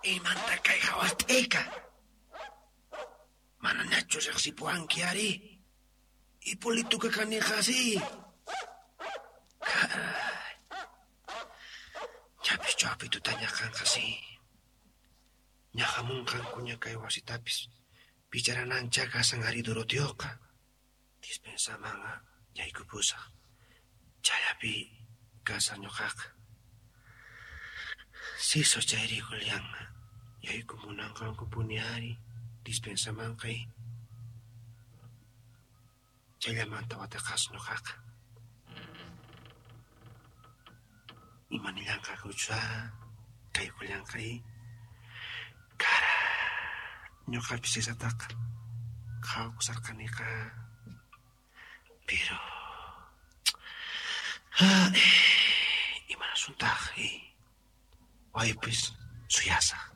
Imanta kay hawast'ika? Manañachu riqsipuwanki ari? Ipolituka kaniqa si. Caray. Ñapis chawpi tutaña kanqa si. Ña hamunqankuña kay wasitapis picharanancha kasan ari Doroteoqa. Dispensamanqa yaykupusaq. Chayllapi kasaq ñuqaqa. Siso chayri Julián yaykumunanqankupuni ari dispensamanqa chayllamanta wateqasaq ñuqaqa. Imanillanqakuchu kay Julianqa Caray, ñuqapis sisataqa qhawakusharqaniqa. Pero imanasuntaq waypis suyasaq.